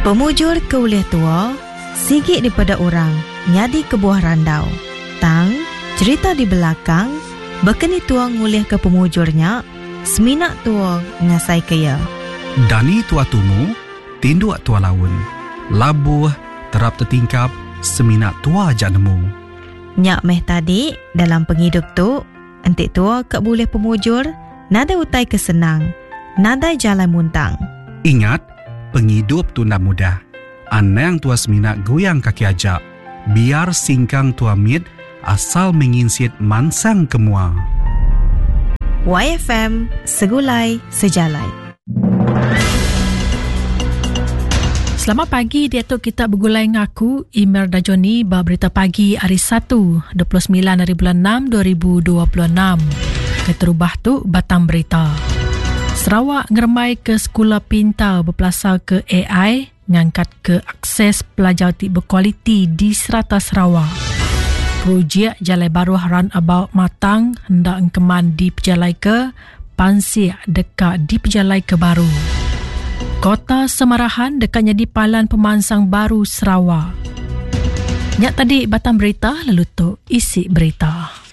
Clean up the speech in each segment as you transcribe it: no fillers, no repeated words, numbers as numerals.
Pemujur ke ulih tua sigi dipeda orang nyadi kebuah randau. Tang, cherita di belakang baka ni tua ngulihka pemujur nya semina tua ngasaika iya. Dani tua tumu, tinduk tua laun. Labuh, terap tetingkap, semina tua aja nemu. Nya meh tadi dalam pengidup tu enti tua ka bulih pemujur nadai utai ke senang, nadai jalai muntang. Ingat, pengidup tu enda mudah. Anang tua semina guyang kaki aja. Biar singkang tua mit asal meh nginsit mansang ke mua. Waifm Segulai Sejalai. Selamat pagi diatu kita begulai enggau aku Imer Dajoni ba berita pagi hari Satu 29 hari bulan 6 2026. Keterubah tu batang berita. Sarawak ngerembai ke sekula pintar bepelasar ke AI ngangkat ke akses pelajar ti bekualiti di serata Sarawak. Projek Jalai Baruh Roundabout Matang enda engkeman dipejalaika, pansik deka dipejalaika baru. Kota Samarahan deka nyadi palan pemansang baru Sarawak. Nya tadi batang berita lalu tu isi berita.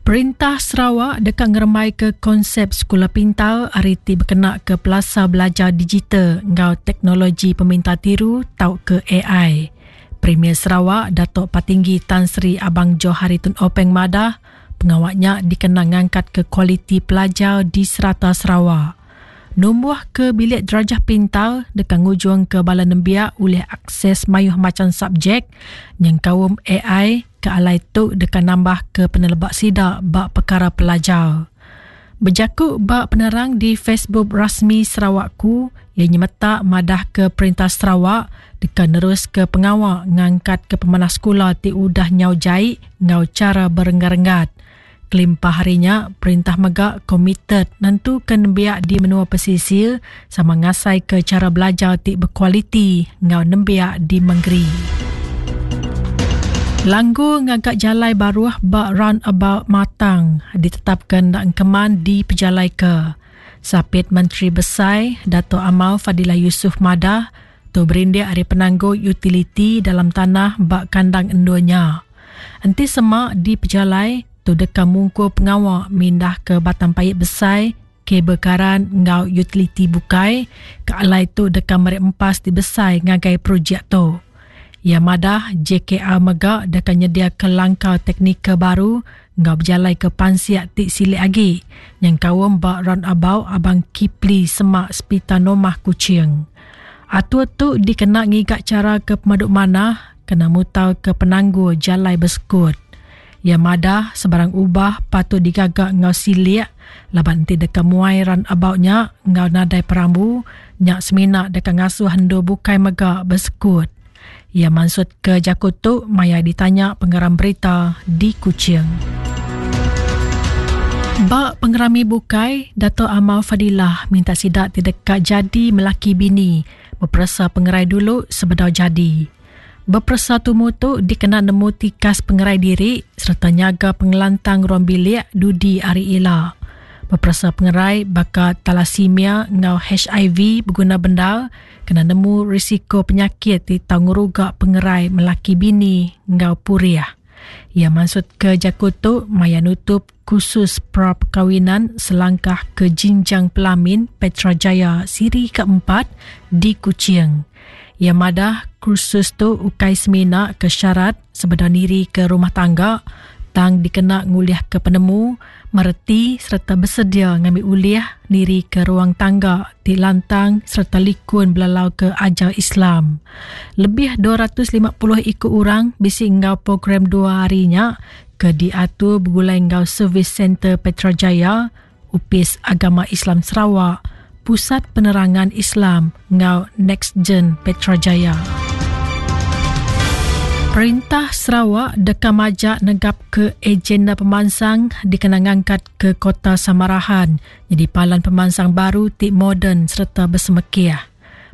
Perintah Sarawak deka ngerembaika konsep sekula pintar ari ti bekenaka pelasar belajar digital enggau teknologi pemintar tiru tauka AI. Premier Sarawak Datuk Patinggi Tan Sri Abang Johari Tun Openg madah, pengawa nya dikena ngangkatka kualiti pelajar di serata Sarawak. Numbuhka bilik derajah pintar deka ngujungka bala nembiak ulih akses mayuh macham subjek nyengkaum ai ke alai tu deka nambahka peneleba sida ba pekara pelajar. Bejaku ba penerang di Facebook rasmi Sarawakku, iya nyemetak madahka Perintah Sarawak deka neruska pengawa ngangkatka pemanah sekula ti udah nyau jai enggau chara berenggat-renggat. Kelimpah ari nya, perintah mega komited nentuka nembiak di menua pesisir sama ngasaika chara belajar ti bekualiti enggau nembiak di mengeri. Langgur ngaga jalai baruh ba roundabout Matang ditetapka enda engkeman dipejalaika. Sapit Menteri Besai, Datuk Amar Fadillah Yusuf madah, tu berindik ari penanggul utiliti dalam tanah ba kandang endur nya. Enti sema dipejalai, tu deka mungkur pengawa mindahka batang paip besai, kabel karan enggau utiliti bukai ke alai tu deka meri empas ti besai ngagai projek tu. Iya madah JKR mega deka nyediaka langkar teknikal baru enggau bejalaika pansik ti silik agi nyengkaum ba roundabout Abang Kipli semak Sepital Normah Kuching. Atur tu dikena ngiga chara ke pemadu manah kena mutarka penanggul jalai besekut. Iya madah sebarang ubah patut digaga enggau silik laban enti deka muai roundabout nya enggau nadai perambu, nya semina deka ngasuh endur bukai mega besekut. Iya mansutka jaku tu maya ditanya pengarang berita di Kuching. Ba pengerami bukai, Dato Amar Fadillah minta sida ti deka jadi melaki bini beperesa pengerai dulu sebedau jadi. Beperesa tumu tu dikena nemu tikas pengerai diri sereta nyaga pengelantang ruang bilik dudi hari ila. Beperesa pengerai baka talasemia enggau HIV beguna bendar kena nemu risiko penyakit ti tau ngeruga pengerai melaki bini enggau purih. Iya mansutka jaku tu maya nutup Kursus Pra-Perkahwinan Selangkah ke Jinjang Pelamin Petra Jaya Siri Keempat di Kuching. Iya madah, kursus tu ukai semina ke syarat sebedau nirika rumah tangga tang dikena ngulihka penemu, mereti sereta besedia ngambi ulih nirika ruang tangga ti lantang sereta likun belalauka ajar Islam. Lebih 250 iku orang bisi enggau program dua hari nya ke diatur begulai enggau Service Centre Petra Jaya, Opis Agama Islam Sarawak, Pusat Penerangan Islam enggau NextGen Petra Jaya. Perintah Sarawak deka majak negapka agenda pemansang dikena ngangkatka Kota Samarahan nyadi palan pemansang baru ti moden sereta besemekih.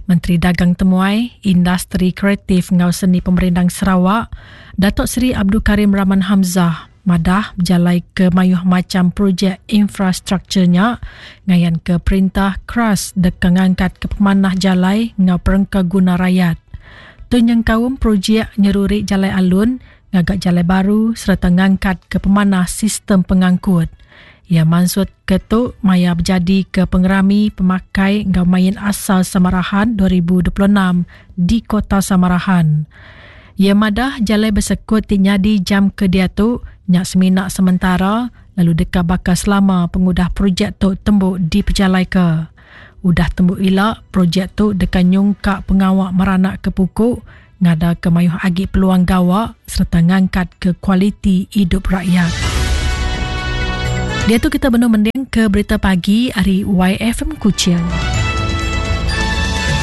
Menteri Dagang Temuai, Industri Kreatif enggau Seni Pemerindang Sarawak, Datuk Seri Abdul Karim Rahman Hamzah. madah bejalaika mayuh macham projek infrastruktur nya ngayanka perintah keras deka ngangkatka pemanah jalai enggau perengka guna rayat. Tu nyengkaum projek nyeruri jalai alun, ngaga jalai baru sereta ngangkatka pemanah sistem pengangkut. Iya mansutka tu maya bejadika Pengerami Pemakai enggau Main Asal Samarahan 2026 di Kota Samarahan. Iya madah jalai besekut ti nyadi jam ke diatu nya semina sementara lalu deka baka selama pengudah projek tu tembu dipejalaika. Udah tembu ila, projek tu deka nyungkak pengawa meranakka puku, ngadaka mayuh agi peluang gawa sereta ngangkatka kualiti idup rakyat. Diatu kita benung mendingka berita pagi ari YFM Kuching.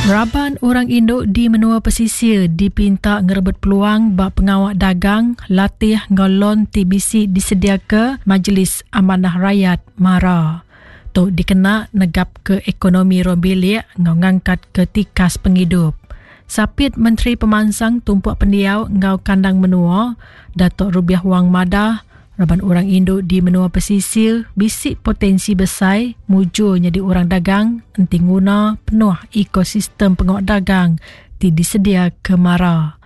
Raban orang indu di menua pesisir dipinta ngerebut peluang ba pengawa dagang, latih enggau lon ti bisi disediaka Majlis Amanah Rayat, MARA. Tu dikena negapka ekonomi ruang bilik enggau ngangkatka tikas pengidup. Sapit Menteri Pemansang Tumpuk Pendiau enggau Kandang Menua, Datuk Rubiah Wang madah, raban orang indu di menua pesisir bisi potensi besai mujur nyadi orang dagang enti nguna penuh ekosistem pengawa dagang ti disediaka MARA.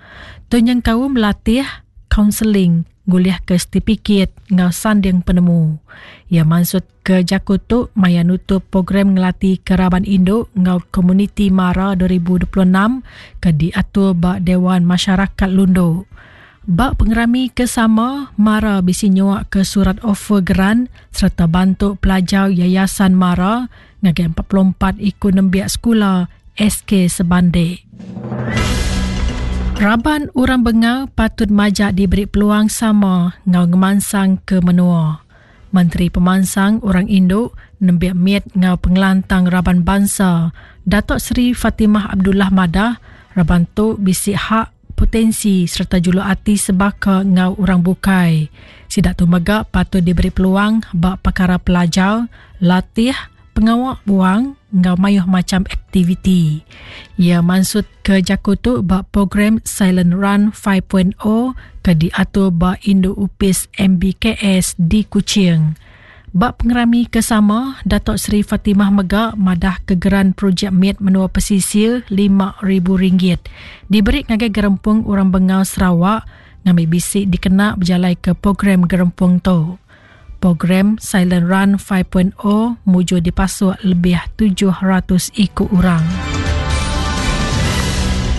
Tu nyengkaum latih, kaunseling, ngulihka setipikit enggau sanding penemu. Iya mansutka jaku tu maya nutup Program Ngelatihka Raban Indu enggau Komuniti MARA 2026 ke diatur ba Dewan Masyarakat Lundu. Ba pengerami ke sama, MARA bisi nyuaka surat offer geran sereta bantu pelajar Yayasan MARA ngagai 44 iku nembiak sekula SK Sebandek. Raban orang bengal patut majak diberi peluang sama enggau ngemansangka menua. Menteri Pemansang Orang Indu, Nembiak Mit enggau Pengelantang Raban Bansa, Datuk Seri Fatimah Abdullah madah, raban tu bisi hak, potensi sereta juluk ati sebaka enggau orang bukai. Sida tu mega patut diberi peluang ba pekara pelajar, latih, pengawa buang enggau mayuh macham aktiviti. Iya mansutka jaku tu ba program Silent Run 5.0 ke diatur ba Indu Opis MBKS di Kuching. Ba pengerami ke sama, Datuk Seri Fatimah mega madah ke geran projek mit menua pesisir RM5,000 diberi ngagai Gerempung Orang Bengal Sarawak ngambi bisi dikena bejalaika program gerempung tu. Program Silent Run 5.0 mujur dipasuk lebih 700 iku orang.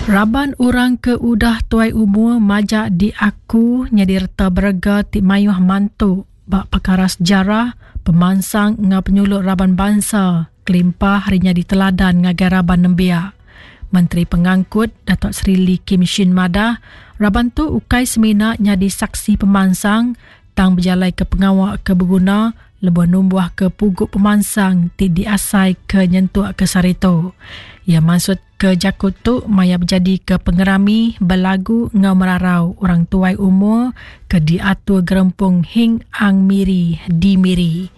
Raban orang ke udah tuai umur majak diaku nyadi reta berega ti mayuh mantu ba pekara sejarah, pemansang enggau penyulut raban bansa kelimpah ari nyadi teladan ngagai raban nembiak. Menteri Pengangkut Datuk Seri Lee Kim Shin madah, raban tu ukai semina nyadi saksi pemansang tang bejalaika pengawa ke beguna lebuh numbuhka pugu pemansang ti diasaika nyentuk ke sehari tu. Iya mansutka jaku tu maya bejadika pengerami belagu enggau merarau orang tuai umur ke diatur Gerempung Hing Ang Miri di Miri.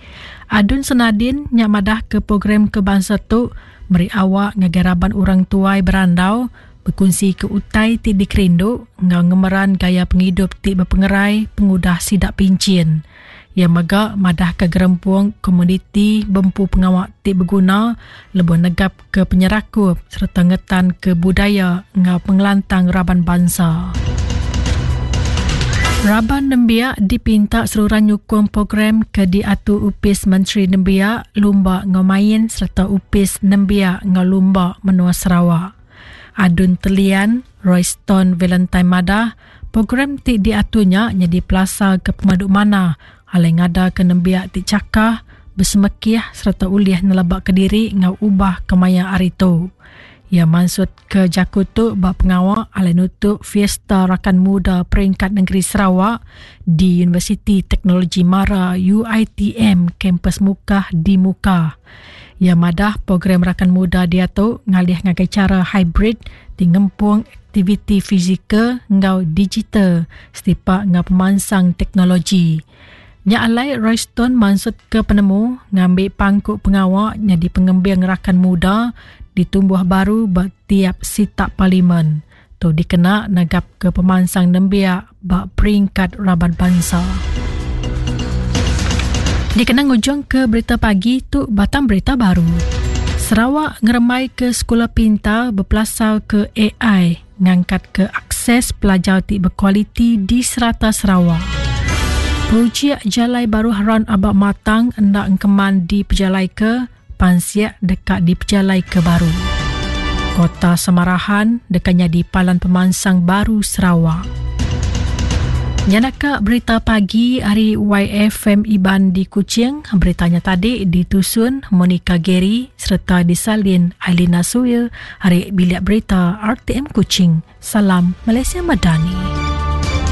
Adun Senadin nya madahka program ke bansa tu meri awak ngagai raban orang tuai berandau bekunsika utai ti dikerindu enggau ngemeran gaya pengidup ti bepengerai pengudah sida pinchin. Iya mega madahka gerempung komuniti bempu pengawa ti beguna lebuh negapka penyerakup sereta ngetanka budaya enggau pengelantang raban bansa. Raban nembiak dipinta seruran nyukung program ke diatur Opis Menteri Nembiak, Lumba enggau Main sereta Opis Nembiak enggau Lumba Menua Sarawak. Adun Telian, Royston Valentine madah, program ti diatur nya nyadi pelasar ke pemadu manah alai ngadaka nembiak ti chakah, besemekih sereta ulih nelebaka diri enggau ubah kemaya hari tu. Iya mansutka jaku tu ba pengawa alai nutup Fiesta Rakan Muda Peringkat Nengeri Sarawak di Universiti Teknologi Mara, UiTM, Kampus Mukah di Mukah. Iya madah program Rakan Muda diatu ngalih ngagai chara hibrid ti ngempung aktiviti fizikal enggau digital setipak enggau pemansang teknologi. Nya alai Royston mansutka penemu ngambi pangku pengawa nyadi pengembing Rakan Muda ditumbuh baru ba tiap sitak parlimen. Tu dikena negapka pemansang nembiak ba peringkat raban bansa. Dikena ngujungka berita pagi tu batang berita baru. Sarawak ngerembaika sekula pintar bepelasarka ai ngangkatka akses pelajar ti bekualiti di serata Sarawak. Projek Jalai Baruh Round About Matang enda engkeman dipejalaika, pansik deka dipejalaika baru. Kota Samarahan deka nyadi palan pemansang baru Sarawak. Nyanaka berita pagi ari YFM Iban di Kuching. Berita nya tadi ditusun Monica Gary sereta disalin Ailina Suil ari Bilik Berita RTM Kuching. Salam Malaysia Madani.